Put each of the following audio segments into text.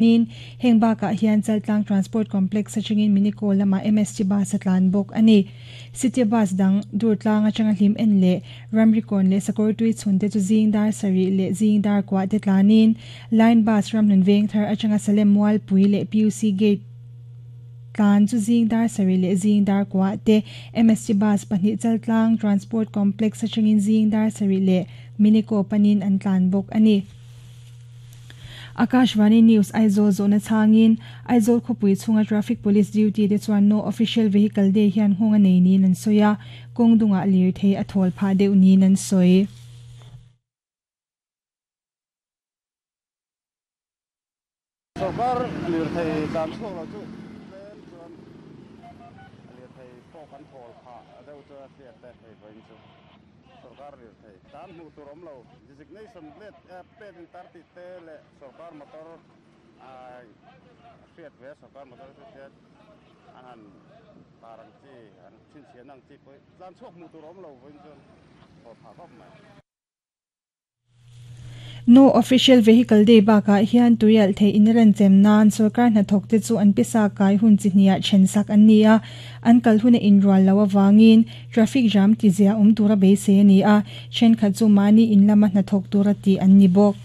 Niin, heng bakah hian Chaltlang Transport Complex atangin Miniko lamah MST Bus a tlan bawk a ni. City Bus dang Durtlang atanga hlim en leh Ramrikawn leh Sakawrtui chhunte chu zing dar sarih leh zing dar kuah te tlanin Line Bus Ramhlun Vengthar atanga Salem Mualpui leh PUC Gate tlan chu zing dar sarih leh zing dar kuah te MST Bus pahnih Chaltlang Transport Complex atangin zing dar sarih leh Miniko panin an tlan bawk a ni. Akashvani News Aizawl zawhna chhangin Aizawl khawpui chhunga Traffic Police duty te chuan No Official Vehicle Day hian nghawng a nei niin an sawi a, kawng dungah lirthei a thawl phah deuh niin an sawi. Sorkar lirthei tlan chhuak lo chu tlem chuan lirthei pawh kan thawl phah deuh chu a hriat e hei vawiin chu sorkar lirthei tlan hmuh tur awm lo. Designation plate plate in tar tih te leh sorkar motor a hriat ve a sorkar motor chu hriat an han tar ang chi an chhinchhiahna ang chi pawh hi tlan chhuak hmuh tur a awm lo vawiin chuan thaw phah khawp mai. No Official Vehicle Day bakah hian tuialh theih in renchem nan sorkar hnathawk te chu an pisa kai hun chi hniah then sak an ni a, an kal hun a inrual loh avangin Traffic jam tizia awm tura beisei a ni a, thenkhat chu mahni in lama hnathawk tura tih an ni bawk.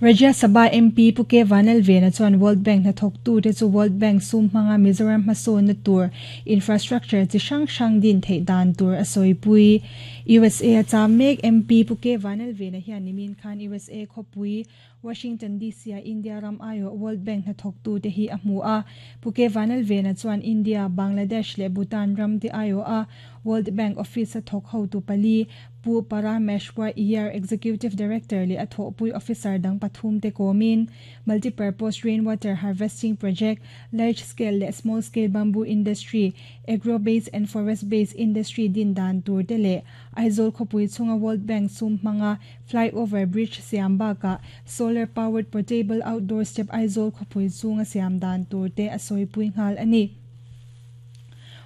Rajya Sabha MP Pu K Vanlalvena chuan World Bank hnathawktute chu World Bank sum hmanga Mizoram hmasawnna tur infrastructure chi hrang hrang din theih dan tur a sawipui. USA a cham mek MP Pu K Vanlalvena hian nimin khan USA khawpui Washington DC-a India ram aiawh World Bank hnathawktute hi a hmu a. Pu K. Vanlalvena chuan India, Bangladesh leh Bhutan ram te aiawh a World Bank office-a thawk hotu pali, Pu Parameshwar Iyer, Executive Director leh a thawhpui officer dang pathum te kawmin Multipurpose Rainwater Harvesting Project, Large Scale leh Small Scale Bamboo Industry, Agro-based and Forest-based Industry din dan tur te leh Aizawl khawpui chhunga World Bank sum hmanga Flyover bridge siam bakah solar powered portable outdoor step Aizawl khawpui chunga siam dan tur te a sawipui nghal a ni.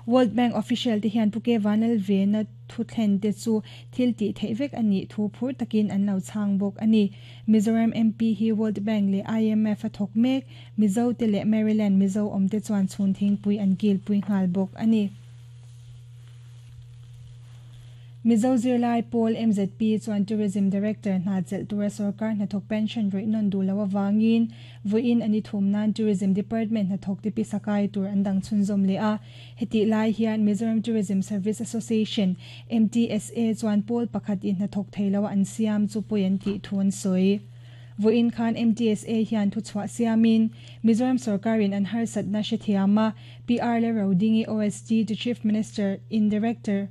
World Bank official te hian Pu K Vanlalvena thuthlen te chu thil tih theih vek a nih thu phur takin an lo chhang bawk a ni. Mizoram MP hi World Bank leh IMF a thawk mek, Mizo te leh Maryland Mizo awm te chuan chhun thingpui an kilpui nghal bawk a ni. Mizo zirlai pawl MZP chuan Tourism Director hna chelh tura sorkar hnathawk pension rawih nawn duh loh avangin vawiin a ni thum nan Tourism Department hnathawk te pisa kai tur an dang chhunzawm leh a. Hetih lai hian Mizoram Tourism Service Association, MTSA, chuan pawl pakhat in hnathawk thei loa an siam chu pawi an tih thu an sawi. Vawiin khan MTSA hian thuchhuah siamin Mizoram sorkarin an harsatna hrethiam a, PR le Rodingi OSD to Chief Minister in Director,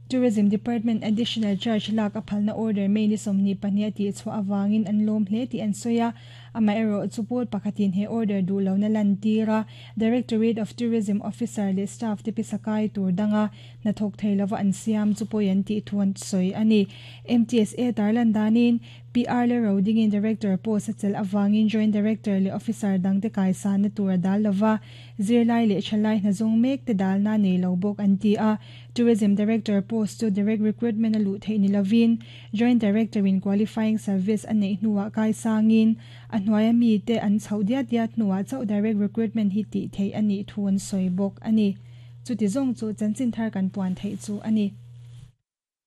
Tourism Department Additional Charge lak a phalna order May ni 22 a tihchhuah avangin an lawm hle tih an sawi a. Amaherawh chu pawl pakhatin he order duh lohna lantir a, Directorate of Tourism Officer leh staff te pisa kai tur danga hnathawk thei lova an siam chu pawi an tih thu an sawi a ni. MTSA tarlan danin, PR leh Rodingin Director post a chelh avangin Joint Director leh Officer dangte kaisanna tur a dal lova, zirlai leh thalai hna zawng mek te dalna nei lo bawk an ti a. Tourism Director post chu direct recruitment a luh theih ni lovin, Joint Director in qualifying service a neih hnuah kaisangin a hnuaia mite an chhoh diat diat hnuah chauh direct recruitment hi tih theih a nih thu an sawi bawk a ni. Chuti zawng chu chanchin thar kan puan theih chu a ni.